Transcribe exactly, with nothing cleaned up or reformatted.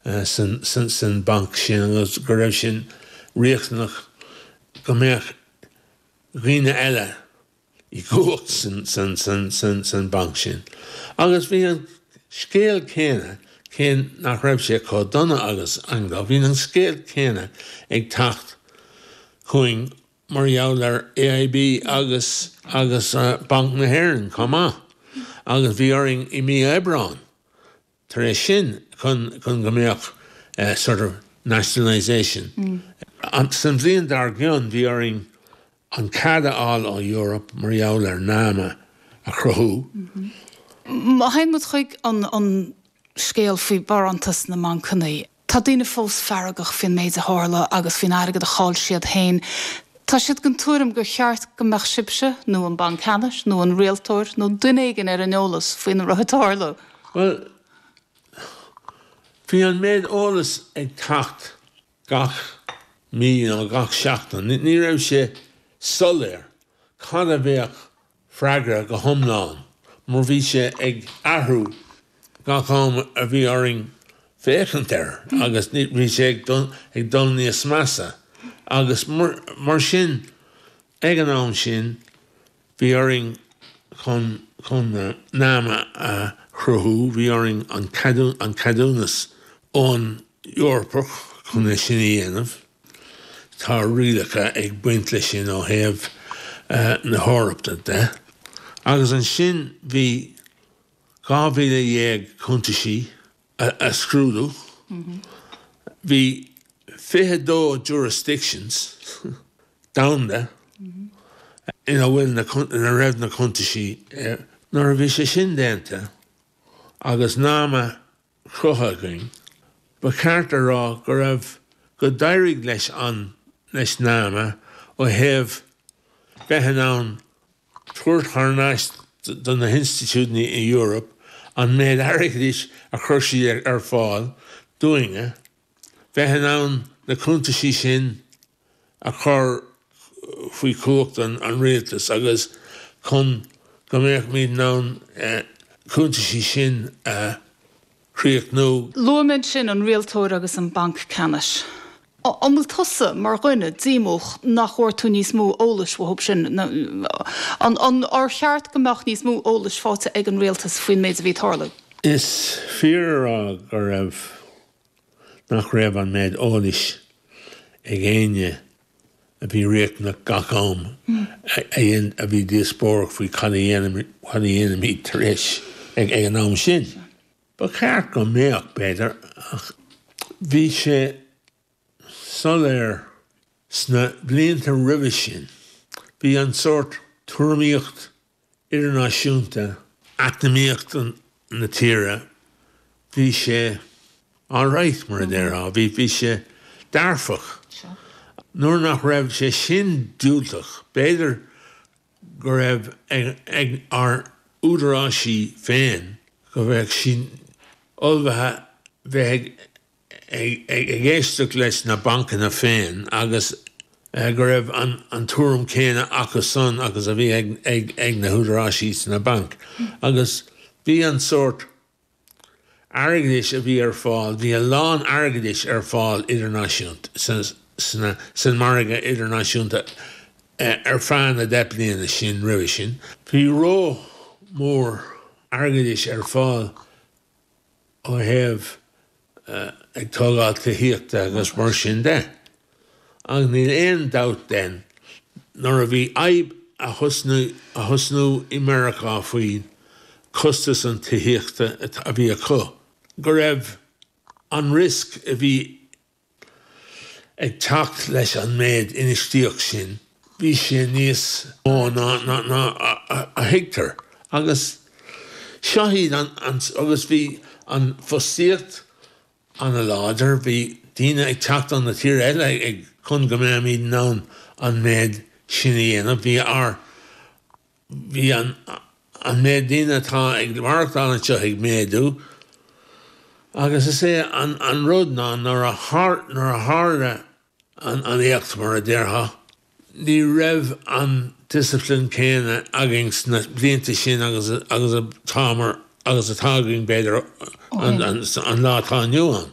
san san san banc sin agus go raibh sin riachtanach go mbeadh daoine eile i gcumhacht san san san san san banc sin. Agus bhí an scéal céanna cé nach raibh sé chomh dona agus Anglo, bhí an scéal céanna ag teacht chugainn mar gheall ar AIB agus agus uh, Banc na hÉireann chomh maith. Agus bhí orainn i mí Aibreáin. Tar éis sin chun chun go mbeadh uh, sort of nationalisation. Mm. An san bhliain dar gcionn bhí orainn an cead a fháil ó Europe mar gheall ar NAMA a chruthú. Má théann muid chuig an an scéal faoi barántas na mbancanna. Tá daoine fós feargach faoin méid a tharla agus faoin airgead a chaill siad féin. Tá siad den tuairim gur cheart go mbeadh sibhse nó an Banc Ceannais nó an rialtóir nó duine éigin ar an eolas faoina raibh ag tarlú. Well, bhí an méid eolas ag teacht gach mí nó gach seachtain. Ní raibh sé soiléir cad a bheadh freagra go hiomlán, mar bhí sé ag athrú gach am a bhí orainn féachaint air agus bhí sé ag ag dul níos measa. Agus mar, mar sin ag an am sin bhí orainn chun chun NAMA a chruthú, bhí orainn an an ceadúnas ón Eorpach chun é sin a dhéanamh. Tá rialacha ag baint leis sin ó thaobh uh, na hEorpa de. Agus ansin bhí dhá mhíle dhéag cuntaisí a, a scrúdú. Bhí fiche dó jurisdictions domhanda ina bhfuil na ina raibh na cuntaisí nuair a bhí sé sin déanta agus NAMA cruthaithe againn, ba cheart a rá go raibh go d'éirigh leis an leis NAMA ó thaobh bheith in ann tabhairt thar n-ais do na hinstitiúidí i Europe an méid airgeadais a chuir siad ar fáil dúinne, bheith in ann na cuntaisí sin a chur faoi chumhacht an, an rialtas agus chun go mbeadh muid in ann eh, cuntaisí sin a chríochnú. Luaigh sin an rialtóir agus an banc ceannais. An bhfuil tusa mar dhuine díomách nach bhfuair tú níos mó eolais uathu sin an an ar cheart go mbeadh níos mó eolais faighte ag an rialtas faoin méid a bhí ag tarlú. Is fíor a rá go raibh nach raibh an méid eolais ag éinne a bhí riachtanach gach am a bhí díospóireacht faoi cad a dhéanfaimid tar éis ag ag an am sin. Ba cheart go mbeadh b'fhéidir ach bhí sé soiléir sna blianta roimhe sin. Bhí an sórt tuairimíocht idirnáisiúnta eacnamaíocht na tíre, bhí sé alright mar a déarfá, bhí bhí sé dearfach. Nuair nach raibh sé sin diúltach, b'fhéidir go raibh ag, ag ár údaráisí féin go bheadh sin ullmhaithe bheith ag, ag, ag éisteacht leis na bancanna féin agus uh, go raibh an, an tuairim céanna acu san agus a bhí ag, ag, ag na húdaráisí sna bainc. Agus bhí an sórt airgeadais a bhí ar fáil, bhí a lán airgeadais ar fáil idirnáisiúnta san, san margadh idirnáisiúnta uh, ar feadh na deich bliana sin roimhe sin. Bhí ró mór airgeadais ar fáil ó thaobh uh, ag tógáil tithíochta agus mar sin de. Ach níl aon dabht den nuair a bhí fadhb a thosnú a thosnú i Meiriceá faoi costas an tithíochta a bhí acu. Go raibh an risk a bhí ag teacht leis an méid infheistíocht sin, bhí sé níos mó ná ná ná a, a thuigtear. Agus seo iad an, an, agus bhí an fostaíocht an-láidir, bhí daoine ag teacht ó na tír eile ag chun go mbeimid in ann an méid sin a dhéanamh, bhí ár bhí an an méid daoine atá ag maireachtáil anseo ag méadú, agus is é an, an rud ná nuair a nuair a tharla an, an éacht mar a déarfá, ní raibh an discipline céanna againn sna blianta sin agus agus atá mar agus atá againn b'fhéidir an, an, an lá atá inniu ann.